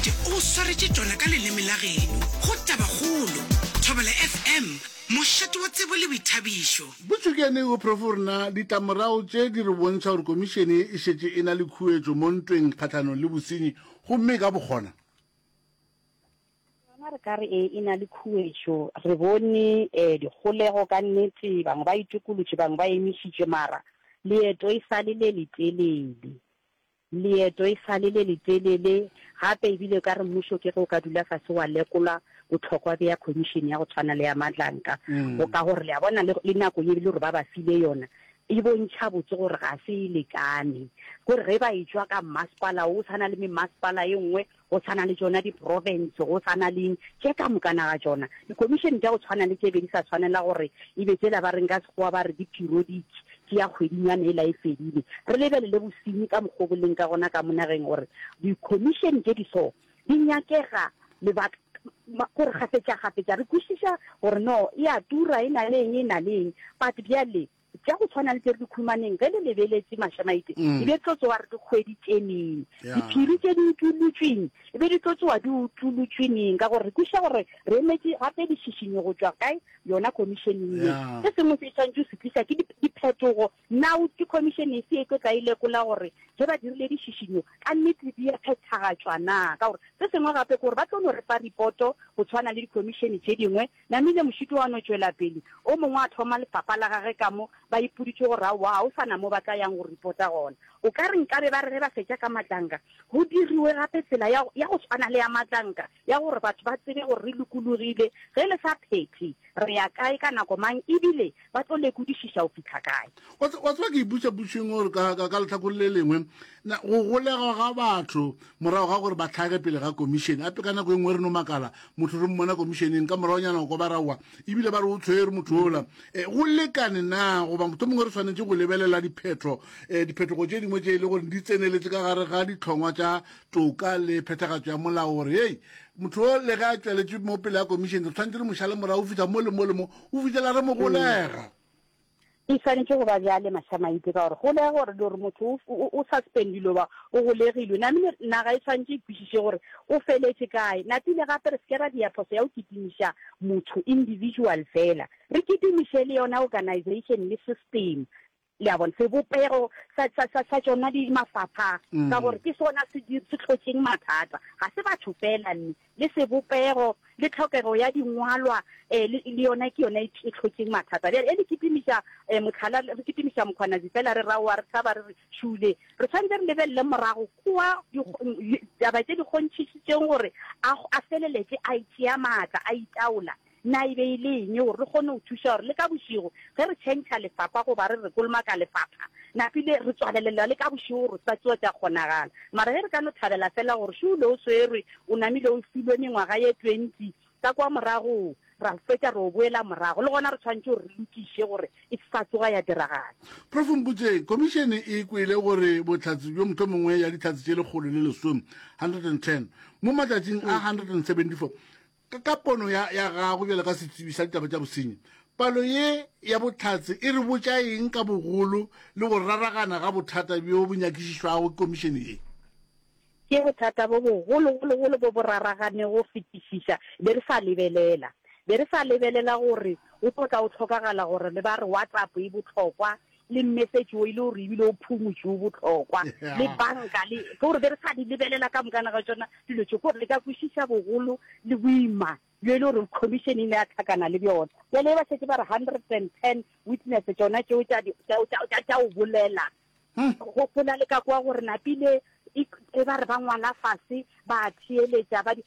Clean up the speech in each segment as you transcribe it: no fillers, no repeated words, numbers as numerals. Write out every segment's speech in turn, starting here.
Mašamaite o go swaretše tšona ka leleme la geno go Tabakgolo, Thobela FM, mošate wa tsebo le boithabišo. Botšokane o Prof rena, ditlamorago tše di re bontšha gore komišene ye e šetše e na le khuetšo mo ntweng kgahlanong le bosenyi gomme e ka bo kgona. Yona re ka re ee e na le khuetšo. Re bone dikgolego ka nnete, bangwe ba itokolotše, bangwe ba emišitšwe, mara leeto e sa le le letelele. Leeto e sa le le letelele, gape e bile o ka re mmušo ke ge o ka dula fase wa lekola bohlokwa bja khomišene ya go tshwana le ya Madlanka. Go ka gore le a bona le, le nako ye e le gore ba ba file yona e bontšha botse gore ga se e lekane. Gore ge ba etšwa ka mmasepala wo, o tshwana le memmasepala e nngwe, go tshwana le tšona diprofense, go tshwana le eng, tše ka mokana ga tšona. Dikhomišene tša go tshwana le tše be di sa tshwanela gore e be tšela ba reng ka Sekgowa ba re di periodic, ke ya kgwedinyana yela e fedile. Re lebelele bosenyi ka mokgwa o bo leng ka gona ka mo nageng gore dikhomišene tše di so di nyakega lebaka gore kgafetšakgafetša re kwešiša gore no e a tura, e na le eng, e na le eng, but bjale Tša go tshwana le tše re di khumaneng ge le lebeletše Mašamaite, e be tlo tsoga re di hweditše neng? Diphiri tše di utolotšweng e be di tlo tsoga di utolotšwe neng? Ka gore re kwešiša gore re emetše gape dišišinyo go tšwa kae? Yona khomišeneng ye. Se sengwe se e swanetše go se tliša ke diphetogo. Na ke khomišene efe e tlo tla e lekola gore ge ba dirile dišišinyo ka nnete di a phethagatšwa na? Ka gore se sengwe gape ke gore ba tlo no re fa ripoto go tshwana le dikhomišene tše dingwe Namile mošito wa no tšwela pele, o mongwe a thoma lefapha la gage ka mo, ba ipoditše gore aowa ga o sa na mo ba tla yang go ripota gona. O ka re nkabe ba re ge ba fetša ka Matlanka, go diriwe gape tsela ya, ya go tshwana le ya Matlanka, ya gore batho ba tsebe gore re lokologile, ge le sa phethe, re ya kae, ka nako mang, ebile ba tlo lekodišiša go fihla kae. Wa wa tseba ke ipotša potšo gore ka, ka, ka lehlakore le lengwe, na go golegwa ga batho morago ga gore ba hlage pele ga komišene, ape ka nako e nngwe re no makala, motho re mmona komišeneng, ka moragonyana o kwa ba raowa, ebile ba re o tshwerwe motho ola. E, go lekane na, goba mohlomongwe re swanetše go lebelela diphetho, e, diphetogo tše dingwe tše e le gore di tseneletše ka gare ga dihlongwa tša toka le phethagatšo ya molao gore, hei, motho o le ge a tšweletše mo pele ga komišene, re swanetše re mo šale morago go fihla mo le mo le mo, go fihlela re mo golega. E swanetše go ba bjale, Mašamaite, ka gore golega gore gore motho o, o, o suspendilwe goba o golegilwe, namile naga e swanetše e kwešiše gore o feletše kae. Napile gape re se ke ra dia phoso ya go kitimiša motho individual fela, re kitimiše le yona organization le system. Le a bona, sebopego sa, sa, sa, sa tšona di mafapha, ka gore ke sona se, se hlotšeng mathata. Ga se batho fela, mme le sebopego le tlhokego ya dingwalwa eh, le, le yona ke yona e, e hlotšeng mathata. Bjale e le kitimiša eh, mohlala, re kitimiša Mkhwanazi fela re raowa re tshaba re re šule. Re swanetše re lebelele morago kua taba tše di kgonthišitšeng gore a, a feleletše a itšea maatla, a itaola. Na e be e le eng gore re kgone go thuša gore le ka bošego ge re tšhentšha lefapha goba re re kolomaka lefapha, napile re tswalelelwa le ka bošego gore sa tšoa tša kgonagala. Mara ge re ka no thabela fela gore Šule o swerwe, o namile o filwe mengwaga ye 20 ka kwa morago, ra fetša re o boela morago, le gona re tshwanetše gore re lokiše gore e se sa tsoga ya diragala. Prof Mpotšeng, Khomišene e kwele gore bohlatse bjo mohlomongwe ya dihlatse tše 110, 110, mo matšatšing a 174, Ka, ka pono ya, ya gago bjalo ka setsebi sa ditaba tša bosenyi, palo ye ya bohlatse e re botša eng ka bogolo le go raragana ga bothata bjo bo nyakišišwago ke komišene ye? Ke bothata bo bogologologolo bo bo raraganego go fetišiša. Be re sa lebelela. Be re sa lebelela gore go tlo tla go hlokagala gore le ba re WhatsApp e bohlokwa, le message o e le gore ebile o phumutše o bohlokwa, le banka, le ke gore be re sa di lebelela ka mokana ga tšona dilo tše, ke gore le ka kwešiša bogolo le boima bjo e le gore commission e ne ya hlakana le bjona. Bjale ba šetše ba re 110 witness tšona tšeo tša tša go bolela, gopola le ka kwa gore napile e ba re ba ngwala fase ba theeletša ba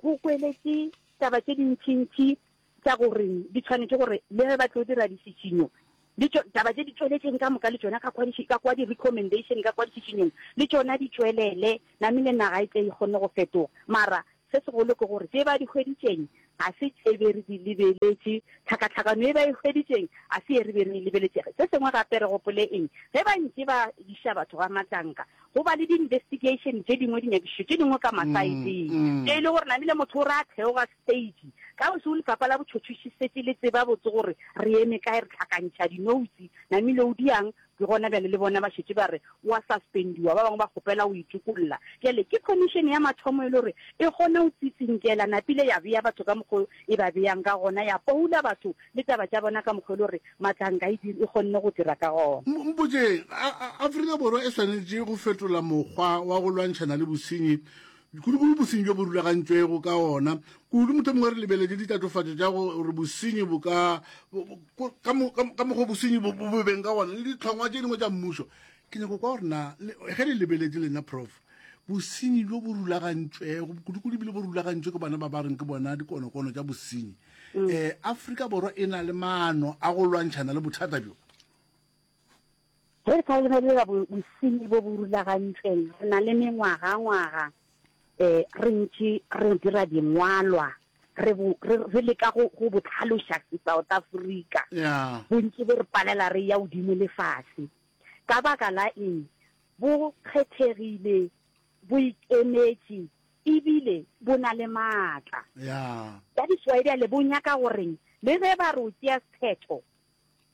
go kweletše taba tše dintšintši tša gore di tshwanetše gore le ge ba tlo dira dišišinyo, le tšo, taba tše di tšweletšeng ka moka le tšona ka kwa di, ka kwa di-recommendation, ka kwa dišišinyong, le tšona di tšwelele, namile naga e tle e kgone go fetoga. Mara se segolo ke gore tše ba di hweditšeng ga se tše be re di lebeletše, tlhakatlhakano ye ba e hweditšeng ga se ye re be re e lebeletše. Se sengwe gape re gopole eng, ge ba ntše ba iša batho ga Matlanka, go ba le di-investigation tše dingwe, dinyakišišo tše dingwe ka masaeteng, tše e le gore namile motho o re a theoga stage, ka bošego lefapha la botšhotšhoši setše le tseba botse gore re eme kae, re hlakantšha dinoutse, namile o diang. Ke gona bjale le bona ba šetše ba re o a suspendiwa, ba bangwe ba kgopela go itokolla. Bjale ke commission ya mathomo e le gore e kgone go tsitsinkela napile ya bea batho ka mokgo e ba beang ka gona, ya poula batho le taba tša bona ka mokgo e le gore Matlanka e e kgonne go dira ka gona. Mpotšeng, a Afrika Borwa e swanetše go fetola mokgwa wa go lwantšhana le bosenyi, kudu-kudu bosenyi bjo bo rulagantšwego ka ona, kudu mohlomongwe re lebeletše ditatofatšo tša gore bosenyi bo ka ka mokgwa bosenyi bo bo beng ka gona le ditlhongwa tše dingwe tša mmušo? Ke nyako kwa gore na ge le lebeletše lena Prof, bosenyi bjo bo rulagantšwego kudu-kudu ebile bo rulagantšwe ke bona ba ba reng ke bona dikonokono tša bosenyi, um Afrika Borwa e na le maano a go lwantšhana le bothata bjo? Ge re sa lebelela bosenyi bo bo rulagantšweng, re na le mengwagangwaga um re ntše re dira dingwalwa, re bo, re, re leka go, go bo hlaloša South Africa. Yeah. Bontši bo re palela re ya godimo le fase. Ka baka la eng? Bo kgethegile, bo ikemetše, ebile bo na le maatla. Yeah. That is why bjale bo nyaka goreng le ge ba re o tšea sephetho,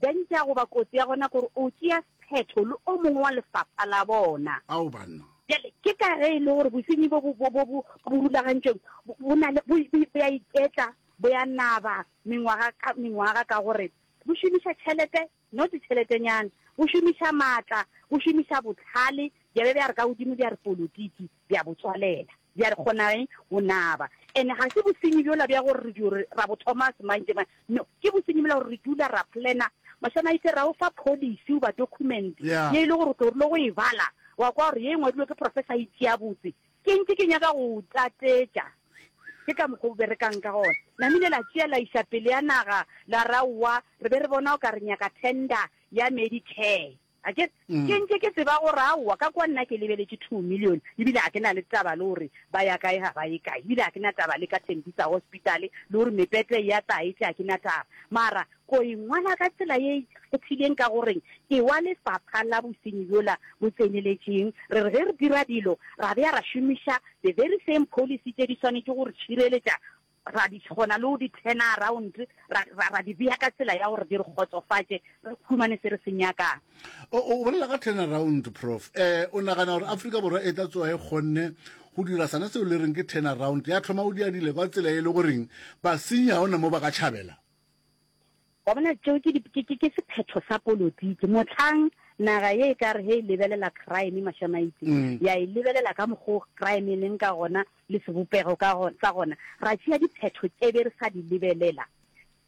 Danger goba kotsi ya gona kore o tšea sephetho le o mongwe wa lefapha la bona. Ao banna. Bjale ke ka ge e le gore bosenyi bo bo bo bo bo rulagantšweng bo na le bo bo ya iketla, bo ya naba mengwaga ka mengwaga ka gore bo šomiša tšhelete, not tšheletenyana, bo šomiša maatla, bo šomiša bohlale, bja be bja re ka godimo bja re polotiki, bja bo tswalela. Bja re kgona eng go naba. And ga se bosenyi bjola bja gore re dio re ra bo thoma semantšemantše. No, ke bosenyi bjola gore re dula ra planner. Mashamaite ra o fa policy goba document Yeah. ye e le gore o tlo rile go e bala wa kwa gore ye e ngwadilwe ke professor e tšea botse. Ke ntše ke nyaka go o tlatetša. Ke ka mokgwa o berekang ka gona. Namile la tšea la iša pele ya naga la re aowa re be re bona o ka re nyaka tender ya Medicare. A ke, ke ntše ke tseba gore aowa, ka kwa nna ke lebeletše 2 million, ebile ga ke na le taba le gore ba ya kae ga ba ye kae, ebile ga ke na taba le ka Tembisa Hospital, le gore mepete e ya tla e tle, ga ke na taba. Mara ko e ngwala ka tsela ye e ikgethileng ka goreng ke wa lefapha la bosenyi bjola bo tseneletšeng. Re re ge re dira dilo, ra bea ra šomiša the very same policy tše di swanetše go re tšhireletša ra di kgona le go di turn around, ra, ra, ra di bea ka tsela ya gore di re kgotsofatše, re humane se re se nyakang. O, o bolela ka turn around, Prof. Eh, o nagana gore Afrika Borwa e tla tsoga e kgonne go dira sona seo le reng ke turn around, ya thoma go dia dilo ka tsela e le goreng basenyi ga ona mo ba ka tšhabela? Wa bona, tšeo ke, ke, ke, ke sephetho sa polotiki. Mohlang naga ye e ka re ge e lebelela crime, Mashamaite, mm. ya e lebelela ka mokgwa crime e leng ka gona le sebopego ka gona, sa gona, ra tšea diphetho tše be re sa di lebelela.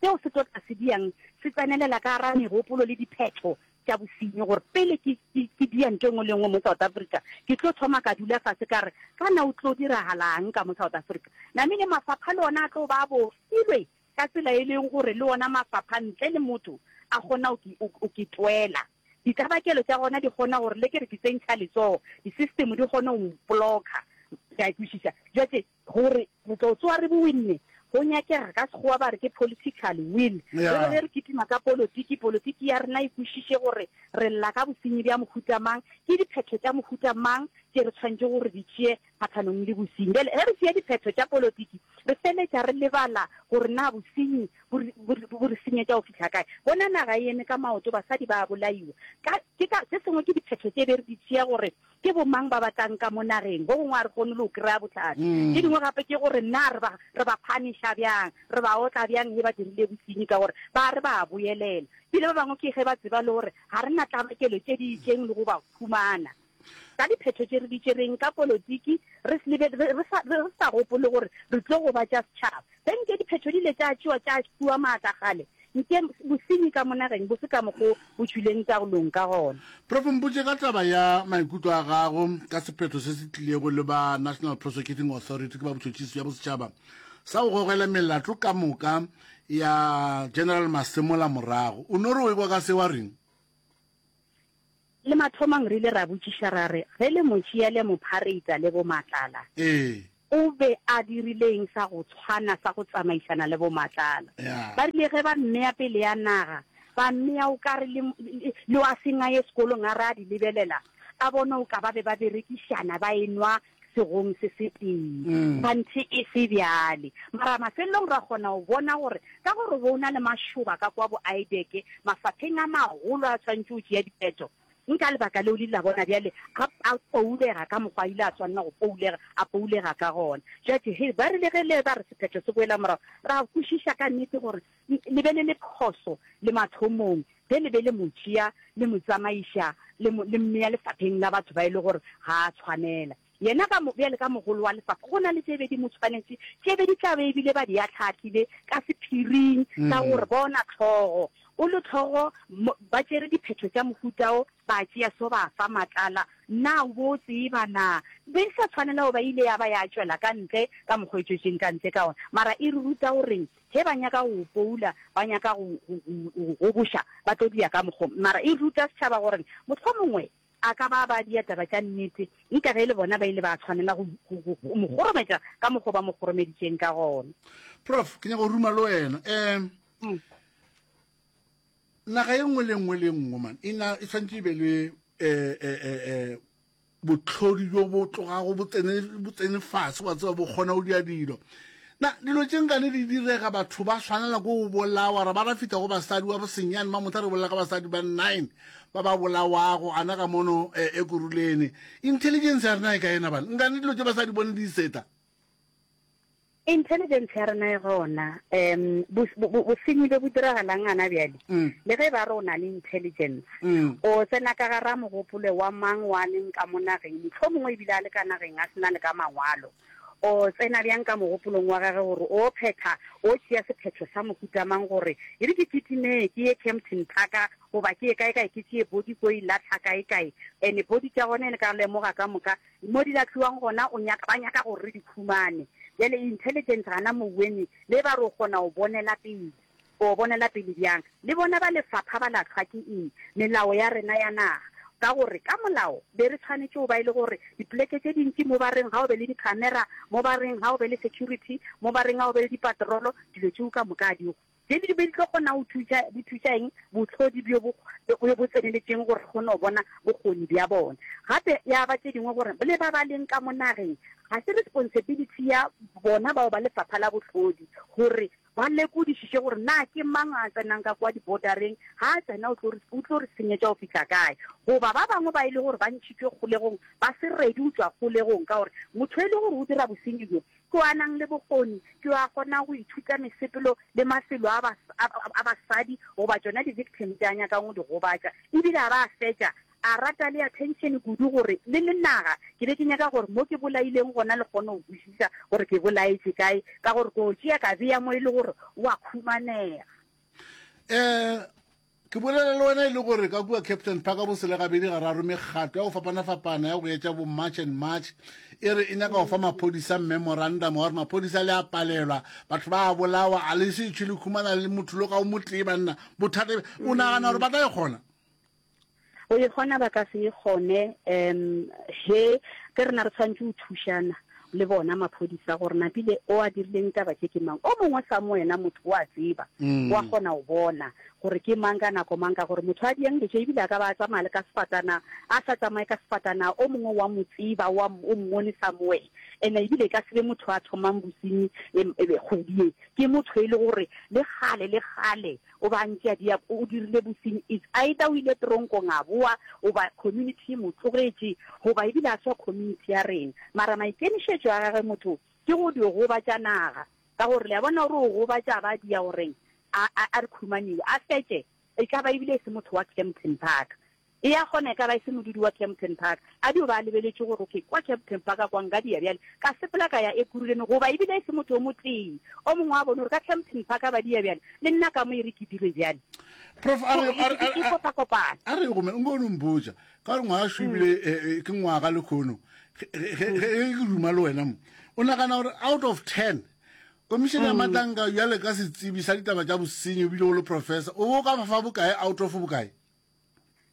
Seo se tlo tla se diang se tsenelela ka gara megopolo le diphetho tša bosenyi gore pele ke, ke, ke dia ntho e nngwe le nngwe mo South Africa, ke tlo thoma ka dula fase ka re, kana o tlo diragalang ka mo South Africa? Namile mafapha le ona a tlo ba a bofilwe ka tsela e leng gore le ona mafapha ntle le motho a kgona go ke twela. Ditlabakelo tša gona di kgona gore le ke re ke tsentšha letsogo, di-system di kgone go mpolokha. Ke a kwešiša. Jwale gore re tlo tsoga re bo winne, go nyakega ka Sekgowa ba re ke political will. Re be ge re kitima ka polotiki, polotiki ya rena e kwešiše gore re lla ka bosenyi bja mohuta mang, ke diphetho tša mohuta mang tše re tshwanetšego gore di tšee kgahlanong le bosenyi. Bjale ge re tšea diphetho tša polotiki, re feletša re lebala gore na bosenyi bo re, bo re, bo re senyetša go fihla kae. Bona naga e eme ka maoto, basadi ba a bolaiwa. Ka, ke ka, se sengwe ke diphetho tše be re di tšea gore ke bomang ba ba tlang ka mo nageng. Go gongwe ga re kgone le go kry-a bohlatse. Tše dingwe gape ke gore na re ba, re ba punish-a bjang, re ba otla bjang ge ba dirile bosenyi, ka gore ba re ba a boyelela. Ebile ba bangwe ke ge ba tseba le gore ga re na tlabakelo tše di itšeng le go ba humana. Ka diphetho tše re di tšereng ka polotiki, re se lebe, re, re sa, re sa gopole gore re tlo gobatša setšhaba. Ge nke diphetho di ile tša tšewa tša fiwa maatla kgale, nke bosenyi ka mo nageng bo se ka mokgo bo tšwileng taolong ka gona. Prof. Mpotše ka taba ya maikutlo a gago ka sephetho se se tlilego le ba National Prosecuting Authority, ke ba botšhotšhisi bja bosetšhaba, sa go gogela melato ka moka ya General Masemola morago. O no re o ekwa ka se wa reng? Le mathomong re ile ra botšiša ra re, Ge le mo tšea le mo phareita le bo Matlala, Ee. o be a dirile eng sa go tshwana sa go tsamaišana le bo Matlala? Ya. Ba rile ge ba mmea pele ya naga, ba mmea o ka re le, le, le wa seng a ye sekolong a re a di lebelela, a bone o ka ba be ba berekišana ba enwa segong se setee. Kganthe e se bjale. Mara mafelelong ra kgona go bona gore ka gore go na le mašoba ka kwa bo IDEC, mafapheng a magolo a tshwanetše go tšea diphetho. Nka lebaka leo le ile la bona bjale a, a poulega ka mokgwa a ile a swanela go poulega, a poulega ka gona. Judge, he, ba rile ge le ba re sephetho se boela morago, ra kwešiša ka nnete gore le be le le phoso le mathomong ge le be le mo tšea le mo tsamaiša le mo, le mmea lefapheng la batho ba e le gore ga a tshwanela. Yena ka mo, bjale ka mogolo wa lefapha, go na le tše be di mo tshwanetše, tše be di tla be ebile ba di ahlaahlile ka sephiring, ka gore bona hlogo, o le hlogo, mo, ba tšere diphetho tša mohuta wo, ba tšea so ba fa matlala. Na o bo o tseba na? Be e sa tshwanela go ba ile ya ba ya tšwela ka ntle ka mokgwa e tšwetšeng ka ntle ka ona. Mara e re ruta goreng? Ge ba nyaka go go poula, ba nyaka go, go, go, go goboša, ba tlo dia ka mokgwa. Mara e ruta setšhaba gore mohlomongwe A ka ba ba dia taba tša nnete, nka ge e le bona ba ile ba tshwanela go, go, go, go mo kgorometša ka mokgwa ba mo kgoromeditšeng ka gona. Prof, ke nyaka go ruma le wena. Um, mm. naga e nngwe le nngwe le nngwe man e na e tshwanetse e be le eh, eh, eh, eh, botlhodi bjo bo tlogago bo tsene bo tsene fase wa tseba bo kgona go dia dilo Na dilo tše nkane di direga batho ba swanela ko go bolawa ra ba ra fihla go basadi wa bosenyane ba motha re bolela ka basadi ba nine ba ba bolawago ana ka mono e, e kurulene intelligence ya rena e ka ena bana nkane dilo tše basadi bone di seta Intelligence ya rena e gona um bosenyi bjo bo diragalang gana bjale mm. le ge ba re o na le intelligence mm. o tsena ka gara mogopolo wa mang wa leng ka mo nageng motlho mongwe ebile a le ka nageng a sena le ka mangwalo O tsena bjang ka mogopolong wa gagwe gore o phetha, o tšea sephetho sa mohuta mang gore e re ke kitime ke ye Kempton Park goba ke ye kae-kae ke tšee body ko e lahla kae-kae? Ene body tša gona ene ka lemoga ka moka mo di lahliwang gona o nyaka, ba nyaka gore re di khumane. Bjale intelligence gana mowene le ba re o kgona go bonela pele. O bonela pele bjang? Le bona ba lefapha ba lahlwa ke eng? Melao ya rena ya naga. Ka gore ka molao be re tshwanetše go ba e le gore dipoleke tše dintši mo ba reng ga o be le di-camera, mo ba reng ga o be le security, mo ba reng ga o be le dipatrolo, dilo tšeo ka moka ga di go. Tše di be di tlo kgona go thuša, di thuša eng? Bohlodi bjo bo, bjo bo tseneletšeng gore re kgone go bona bokgoni bja bona. Gape ya ba tše dingwe gore le ba ba leng ka mo nageng ga se responsibility ya bona bao ba lefapha la bohlodi gore Ba lekodišiše gore na ke mang a tsenang ka kua dibodareng, ga a tsena o tlo re, o tlo re senyetša go fihla kae. Goba ba bangwe ba e le gore ba ntšhitšwe kgolegong, ba se ready go tšwa kgolegong, ka gore motho e le gore o dira bosenyi bjo, ke yo a nang le bokgoni, ke yo a kgonang go ithuta mesepelo le mafelo a, a, a basadi goba tšona di-victim tše a nyakang go di gobatša, ebile a ba a fetša A rata le attention kudu gore le le naga ke be ke nyaka gore mo ke bolaileng gona le kgone go kwešiša gore ke bolaetše kae ka gore ko tšea ka bea mo e le gore o a khumanega. Um ke bolela le wena e le gore ka kua Captain Park bo selegabedi gararo mekgatlo ya go fapana-fapana ya go etša bo March and March e re e nyaka go fa maphodisa memorandum wa gore maphodisa le a palelwa batho ba a bolawa a le se tšhwe le khumana le motho lo ka o motee banna bothata o nagana gore ba tla e kgona Go e kgona ba ka se e kgone um he ke rena re tshwanetse go thušana le bona maphodisa gore napile o a dirileng taba tše ke mang. O mongwe sa mo wena motho o a tseba, o a kgona go bona gore ke mang ka nako mang ka gore motho a diang dilo tše ebile a ka ba a tsamaya le ka sefatana, a sa tsamaye ka sefatana o mongwe wa mo tseba wa o mmone somewhere. Ene ebile e ka se be motho a thomang bosenyi kgwedi ye, ke motho e le gore le kgale le kgale O ba ntše a dia, o dirile bosenyi, it's either o ile tronkong a boa, goba community e mo tlogetše, goba ebile a swa community ya rena. Mara maikemišetšo a gagwe motho ke go dio gobatša naga, ka gore le a bona gore o gobatša a ba dia goreng a, a, a re khumaniwe, a fetše, e ka ba ebile e se motho wa Kempton Park. E ya kgona e ka ba e se modudi wa Kempton Park. A dio ba a lebeletše gore, okay, kwa Kempton Park kwa nka dia bjale, ka sepela ka ya Ekurhuleni, goba ebile e se motho o motee. O mongwe a bone gore ka Kempton Park ba dia bjale, le nna ka mo e re ke dire bjale. Prof, a re, a re, E kopakopana. a re gome, nko o mpotša, ka gore ngwaga šo ebile eh, eh, ke ngwaga lekhono, ge ge- ge ke duma le wena mo, o nagana gore out of ten, Komišene ya Matlanka bjale ka setsebi sa ditaba tša bosenyi ebile o le professor, o be o ka ba fa bokae out of bokae?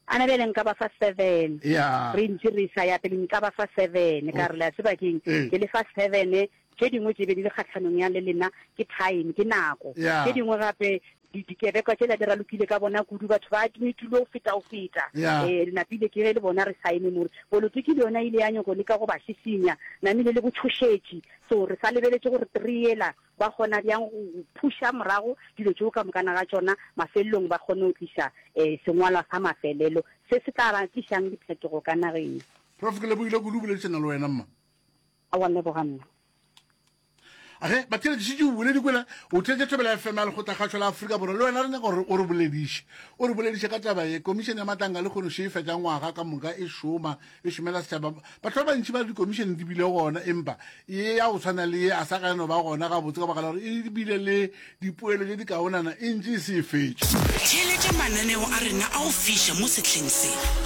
Ana bjale nka ba fa seven. Yeah. Re ntše re sa ya pele nka ba fa seven. Ka re le a tseba keng? Eh. Ke le fa seven. Tše dingwe tše be di le kgahlanong ya le lena ke time, ke nako. Yeah. Tše dingwe gape. Di, dikebekwa tšela di ralokile ka bona kudu, batho ba admittilwe go feta go feta. Yeah. Eh, napile ke ge le bona re sa eme more. Polotiki le yona e ile ya nyoko leka go ba šišinya, namile le botšhošetši. So re sa lebeletše gore three yela ba kgona bjang go, go phuša morago dilo tšeo ka mokana ga tšona, mafelelong ba kgone go tliša eh, sengwalwa sa mafelelo se se tla ba tlišang diphetogo ka nageng. Prof, ke lebogile kudu go boledišana le wena mma. Aowa, leboga nna. Ge batheeletši šetše o boledi kwela o theetše Thobela FM ya Lekgotlakgašo la Afrika Borwa le wena re nyaka gore o re bolediše o re bolediše ka taba ye komišene ya matlanga le kgono še e fetša ngwaga ka moka e šoma e šomela setšhaba batho ba bantši ba re dikomišene di bile gona empa ye ya go tshwana le ye a sa ka no ba gona gabotse ka baka la gore e bile le dipoelo tše di kaonana e ntše e se e fetše. Theeletša mananeo a rena a go fiša mo sehleng se.